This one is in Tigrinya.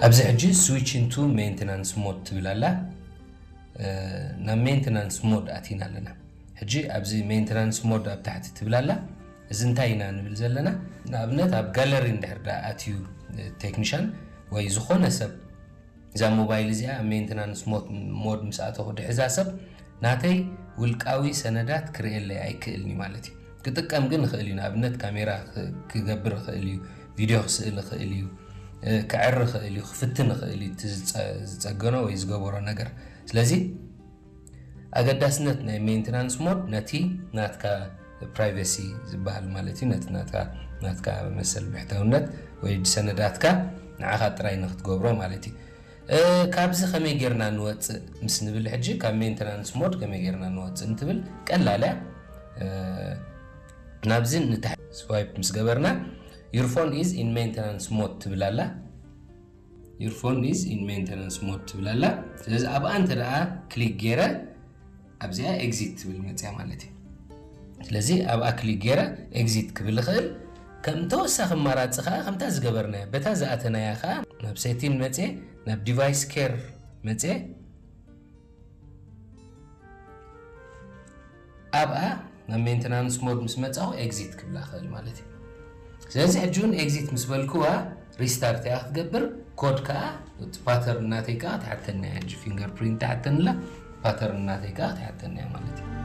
ኣብዚ ሕጂ switch into maintenance mode ትብል ኣላ። ናብ maintenance mode ኣቲና ኣለና። ሕጂ ኣብዚ maintenance mode ኣብ ታሕቲ ትብል ኣላ። እዚ እንታይ ኢና ንብል ዘለና? ንኣብነት ኣብ ጋለሪ እንድሕር ዳ ኣትዩ ቴክኒሻን ወይ ዝኾነ ሰብ እዛ ሞባይል እዚኣ ኣብ maintenance mode ምስ ኣተኹ ድሕዛ ሰብ ናተይ ውልቃዊ ሰነዳት ክርእየለይ ኣይክእልን እዩ ማለት እዩ። ክጥቀም ግን ይኽእል እዩ። ንኣብነት ካሜራ ክገብር ይኽእል እዩ፣ ቪድዮ ክስእል ይኽእል እዩ፣ ክዕር ይኽእል እዩ፣ ክፍትን ይኽእል እዩ፣ ዝፀገኖ ወይ ዝገበሮ ነገር። ስለዚ ኣገዳስነት ናይ maintenance mode ነቲ ናትካ ፕራይቬሲ ዝበሃል ማለት እዩ። ነቲ ናትካ ናትካ መሰል ብሕታውነት ወይ ሰነዳትካ ንዓኻ ጥራይ ንክትገብሮ ማለት እዩ። ካብዚ ከመይ ጌርና ንወፅእ ምስ ንብል ሕጂ ካብ maintenance mode ከመይ ጌርና ንወፅእ እንትብል ቀላል እያ። ናብዚ ንታሕቲ swipe ምስ ገበርና your phone is in maintenance mode ትብል ኣላ። Your phone is in maintenance mode ትብል ኣላ። ስለዚ ኣብኣ እንተ ደኣ ክሊክ ገይረ ኣብዚኣ exit ትብል መፅያ ማለት እዩ። ስለዚ ኣብኣ ክሊክ ገይረ exit ክብል ይኽእል። ከም ተወሳኺ ኣማራፂ ከዓ ከምታ ዝገበርናያ በታ ዝኣተናያ ከዓ ናብ setting መፅየ ናብ device care መፅየ ኣብኣ ናብ maintenance mode ምስ መፃኹ exit ክብላ ክእል ማለት እዩ። ስለዚ ሕጂ እውን exit ምስ በልክዋ restart እያ ክትገብር። ኮድ ከዓ እቲ pattern እናተይ ከዓ ትሓተኒ እያ። ሕጂ fingerprint ትሓተኒ ኣላ፣ pattern እናተይ ከዓ ትሓተኒ እያ ማለት እዩ።